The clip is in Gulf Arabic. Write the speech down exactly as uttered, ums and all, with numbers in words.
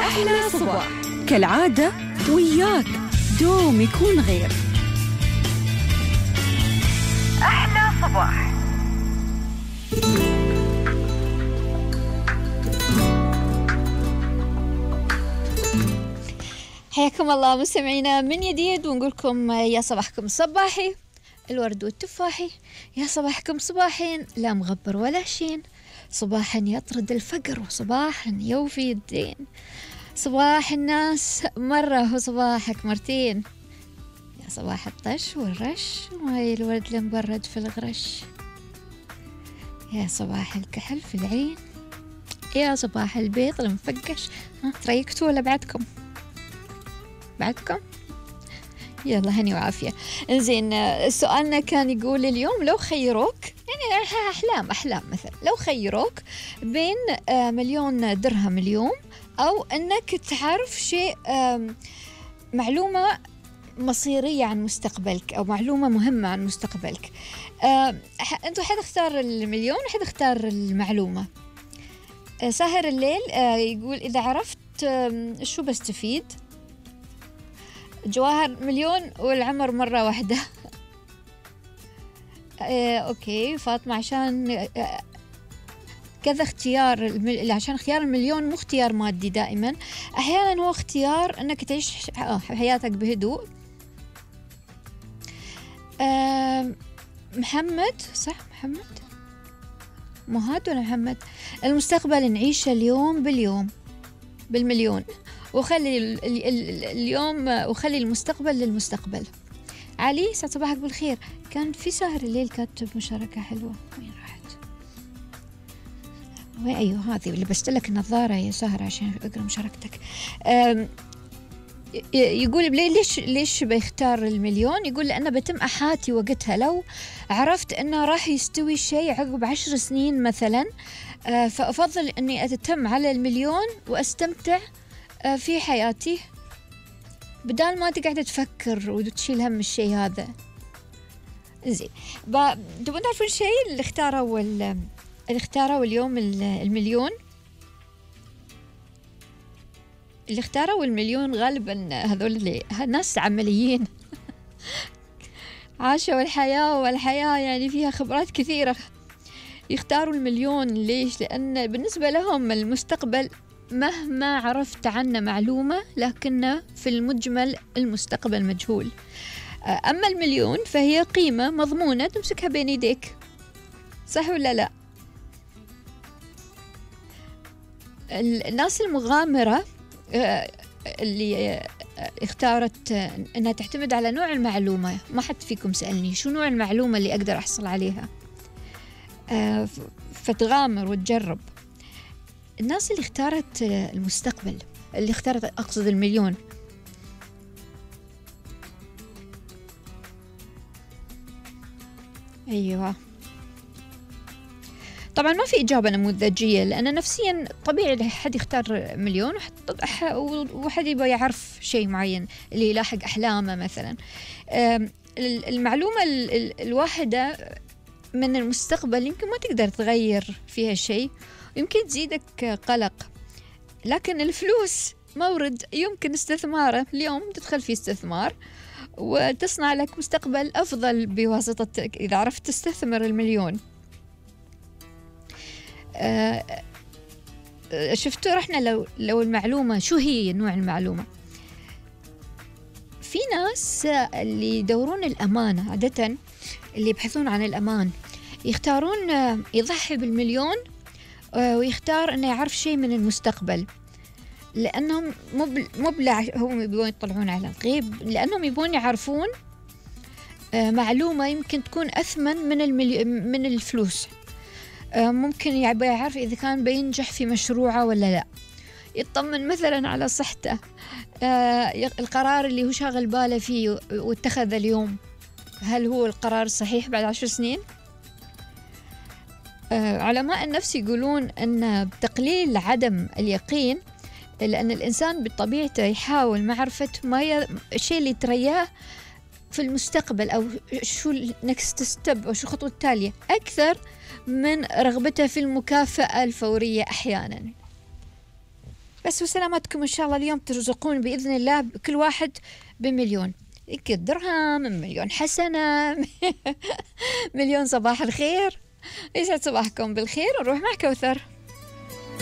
أحلى صباح كالعادة وياك دوم يكون غير. أحلى صباح. حياكم الله مستمعينا من جديد، ونقولكم يا صباحكم صباحي الورد والتفاحي، يا صباحكم صباحين لا مغبر ولا شين، صباحا يطرد الفقر وصباحا يوفي الدين، صباح الناس مرة وصباحك مرتين، يا صباح الطش والرش وهاي الورد المبرد في الغرش، يا صباح الكحل في العين، يا صباح البيض المفقش. ها تريكتوا ولا بعدكم؟ بعدكم؟ يلا هني وعافية. انزين، سؤالنا كان يقول اليوم لو خيروك، يعني أحلام أحلام مثلا، لو خيروك بين مليون درهم اليوم أو أنك تعرف شيء، معلومة مصيرية عن مستقبلك أو معلومة مهمة عن مستقبلك، أنتوا حد اختار المليون وحد اختار المعلومة. ساهر الليل يقول إذا عرفت شو بستفيد؟ جواهر مليون والعمر مرة واحدة. آه، أوكي فاطمة عشان آه، كذا اختيار المل... عشان اختيار المليون مو اختيار مادي دائما، أحيانا هو اختيار أنك تعيش آه، حياتك بهدوء. آه، محمد صح محمد مهاد ولا محمد؟ المستقبل نعيشه اليوم باليوم بالمليون، وخلي ال ال ال اليوم وخلي المستقبل للمستقبل. علي سعد صباحك بالخير. كان في سهر الليل كاتب مشاركة حلوة، وين راحت؟ وين؟ أيوه هذه اللي بستلك النظارة يا سهر عشان أقرأ مشاركتك. يقول ليش ليش بيختار المليون؟ يقول لأنه بتم أحاتي وقتها لو عرفت أنه راح يستوي شيء عقب عشر سنين مثلا، فأفضل أني أتتم على المليون وأستمتع في حياتي بدال ما تقعد تفكر وتشيل هم الشيء هذا. زين، تبون تعرفون الشيء اللي اختاروا اللي اختاروا اليوم المليون؟ اللي اختاروا المليون غالبا هذول اللي ناس عمليين عاشوا الحياة، والحياة يعني فيها خبرات كثيرة، يختاروا المليون. ليش؟ لأن بالنسبة لهم المستقبل مهما عرفت عنه معلومة لكنه في المجمل المستقبل مجهول. أما المليون فهي قيمة مضمونة تمسكها بين يديك، صح ولا لا؟ الناس المغامرة اللي اختارت أنها تعتمد على نوع المعلومة، ما حد فيكم سألني شو نوع المعلومة اللي أقدر أحصل عليها، فتغامر وتجرب. الناس اللي اختارت المستقبل، اللي اختارت أقصد المليون، أيوة طبعا ما في إجابة نموذجية، لأن نفسيا طبيعي حد يختار مليون وحد يبغى يعرف شيء معين اللي يلاحق أحلامه مثلا. المعلومة الواحدة من المستقبل يمكن ما تقدر تغير فيها شيء، يمكن تزيدك قلق، لكن الفلوس مورد يمكن استثماره. اليوم تدخل في استثمار وتصنع لك مستقبل أفضل بواسطتك إذا عرفت تستثمر المليون. أه شفتوا رحنا لو لو المعلومة شو هي نوع المعلومة. في ناس اللي يدورون الأمانة، عادة اللي يبحثون عن الأمان يختارون يضحي بالمليون ويختار أنه يعرف شيء من المستقبل، لأنهم مو بلا هم يبون يطلعون على الغيب، لأنهم يبون يعرفون معلومة يمكن تكون أثمن من الملي... من الفلوس. ممكن يبغى يعرف إذا كان بينجح في مشروعه ولا لا، يطمن مثلا على صحته، القرار اللي هو شاغل باله فيه واتخذ اليوم هل هو القرار الصحيح بعد عشر سنين؟ علماء النفس يقولون أن بتقليل عدم اليقين، لأن الإنسان بطبيعته يحاول معرفة ما ي... الشيء اللي ترياه في المستقبل أو شو next step أو شو الخطوة التالية أكثر من رغبته في المكافأة الفورية أحيانا. بس وسلامتكم إن شاء الله اليوم ترزقون بإذن الله كل واحد بمليون، يمكن درهم، مليون حسنة. مليون صباح الخير، يسعد صباحكم بالخير. ونروح مع كوثر.